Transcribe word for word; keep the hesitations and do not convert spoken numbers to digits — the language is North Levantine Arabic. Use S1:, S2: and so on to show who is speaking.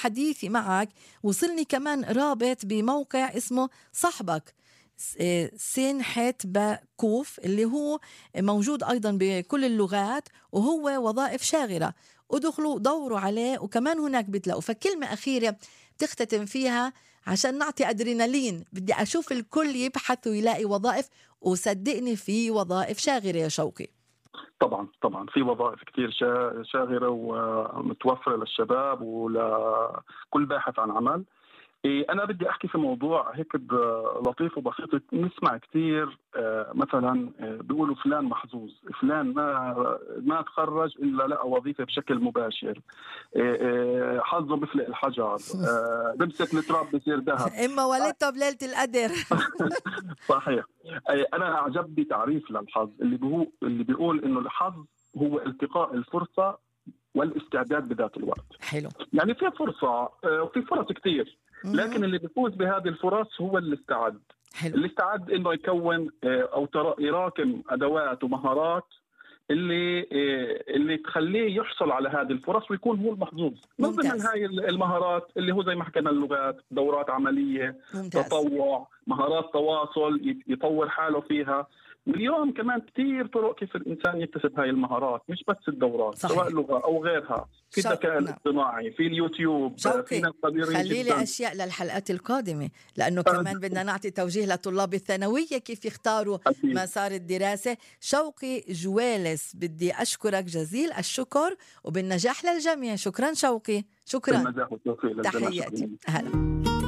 S1: حديثي معك وصلني كمان رابط بموقع اسمه صحبك سين حيت باكوف اللي هو موجود أيضا بكل اللغات وهو وظائف شاغرة، ادخلوا دوروا عليه وكمان هناك بتلاقوا. فكلمة أخيرة بتختتم فيها عشان نعطي أدرينالين، بدي أشوف الكل يبحث ويلاقي وظائف، وصدقني في وظائف شاغرة يا شوقي.
S2: طبعا طبعا في وظائف كتير شاغرة ومتوفرة للشباب ولكل باحث عن عمل. أنا بدي أحكي في موضوع هيك لطيف وبسيط. نسمع كتير مثلا بيقولوا فلان محظوظ، فلان ما ما تخرج إلا لقى وظيفة بشكل مباشر، حظه بفلق الحجر، بمسك التراب بصير ذهب،
S1: إما ولدته بليلة القدر.
S2: صحيح. أنا أعجبني تعريف للحظ اللي بيقول اللي بيقول إنه الحظ هو التقاء الفرصة والاستعداد بذات الوقت.
S1: حلو.
S2: يعني في فرصة وفي فرص كتير، لكن اللي بيفوز بهذه الفرص هو اللي استعد.
S1: حلو.
S2: اللي استعد انه يكون او يراكم ادوات ومهارات اللي اللي تخليه يحصل على هذه الفرص ويكون هو المحظوظ. من ضمن هاي المهارات اللي هو زي ما حكينا اللغات، دورات عملية، ممتاز. تطوع، مهارات تواصل يطور حاله فيها. واليوم كمان كتير طرق كيف الإنسان يكتسب هاي المهارات، مش بس الدورات. صحيح. سواء لغة أو غيرها، في الذكاء الاصطناعي، في اليوتيوب، في ناس قديرين
S1: خلي لي أشياء للحلقات القادمة، لأنه كمان بدنا نعطي توجيه لطلاب الثانوية كيف يختاروا أكيد. مسار الدراسة. شوقي جوالس، بدي أشكرك جزيل الشكر وبالنجاح للجميع. شكرا شوقي. شكرا.
S2: بالنجاح والتوفيق للجميع.
S1: تحياتي. هلا.